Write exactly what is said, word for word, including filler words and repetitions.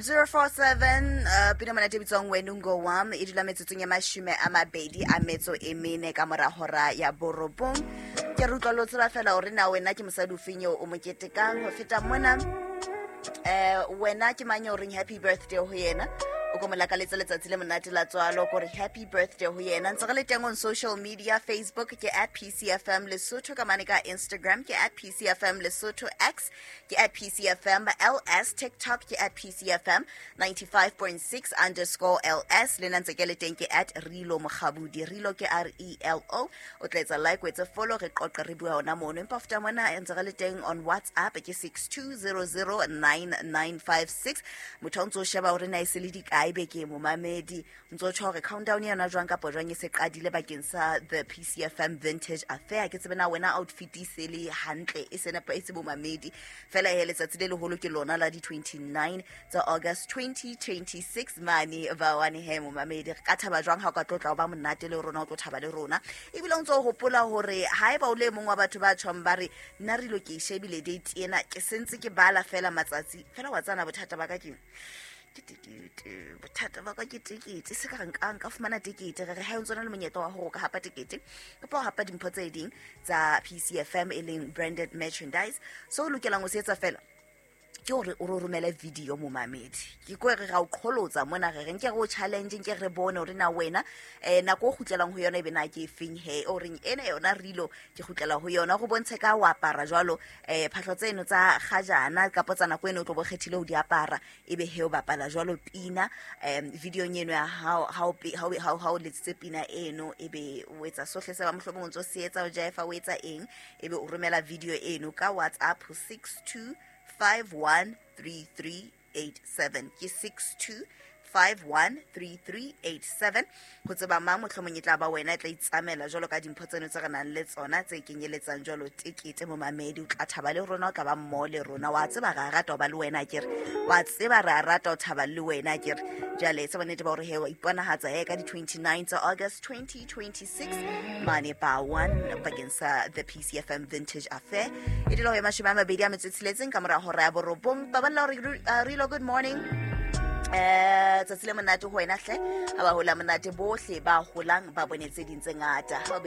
Zero four seven uh, pina monate bitswang Wenungo Wam e dula metsotsong ya mashome a mabedi a metso e mene ka mora hora ya borobong. Ke re utlwa le o tseba fela hore na wena ke mosadi o feng eo o mo ketekang ho feta mona. Eh wena ke mang eo reng happy birthday ho yena? O ko mo lakaletsa letsatsi le monate la tswalo kore happy birthday ho yena. Ntse re le teng on social media, Facebook ke at P C F M Lesotho, ka mane ka Instagram ke at P C F M Lesotho, X ke at P C F M L S, TikTok ke at P C F M ninety-five point six underscore L S. Le nna ntse ke le teng ke at Relo Mokgabudi, Relo ke R E L O. O tla etsa like, o etse follow, re qoqe re bua hona mono. Empa feta mona ntse re le teng on WhatsApp ke six two zero zero nine nine five six. Motho o ntso sheba hore na e se le dikae beke momamedi, ntso tjho hore countdown yona jwang kapa jwang e se qadile bakeng sa the P C F M Vintage Affair. Ke tsebe na wena outfit e se le hantle, e se nepa, e se bomamedi. Fela he letsatsi le leholo ke lona la di twenty-nine tsa August twenty twenty-six mane ba wane he momamedi. Re ka thaba jwang ha o ka tlotla ho ba monate le rona, o tlo thaba le rona. Ebile o ntso hopola hore haeba o le mong wa batho ba tjhong ba re nna re lo ke shebile date ena, ke sentse ke bala fela matsatsi fela, wa tsana bothata ba ka ke ke tekete, bothata ba ka ke tekete, se ka re nka, nka fumana tekete. Re re ha o ntso na le monyetla wa hore o ka hapa tekete kapa o hapa dimpho tse ding tsa P C F M e leng branded merchandise. So o lokelang ho se etsa fela ke hore o re romele video momamedi. Ke ko re ra o qholotsa mona, re re nke re o challenge, nke re bone hore na wena, eh, nako o kgutlelang ho yona e be na ke efeng he, o reng ena yona Relo ke kgutlela ho yona, go bontshe ka o apara jwalo, eh, phahlo tseno tsa kgajana kapa tsa nako eno o tlo bo kgethile ho di apara, ebe he o bapala jwalo pina, em, videong eno ya hao, ha o pe-, ha o, ha o, ha o letsitse pina eno, ebe o etsa sohle se ba mohlomong o ntso se etsa, o jaefa, o etsa eng, ebe o romela video eno ka WhatsApp ho six two five one three three eight seven. Ke six two five one three three eight seven. Ho tseba mang mohlomong e tla ba wena e tla itsamela jwalo ka dimpho tseno tse re nang le tsona tse kenyeletsang jwalo tekete momamedi. O tla thaba le rona, o tla ba mmoho le rona. Wa tseba re a rata ho ba le wena akere, wa tseba re a rata ho thaba le wena akere. Jwale etsa bonnete ba hore he wa iponahatsa he ka di twenty-nine tsa August twenty twenty-six mane ba one bakeng sa the P C F M Vintage Affair. E dula ho ya mashome a mabedi a metso e tsheletseng ka mora hora ya borobong. Baballa hore, uh, Relo, good morning. Eh, tsatsi le monate ho wena hle. Ha ba hola monate bohle ba holang ba bone tse ding tse ngata. Ha o be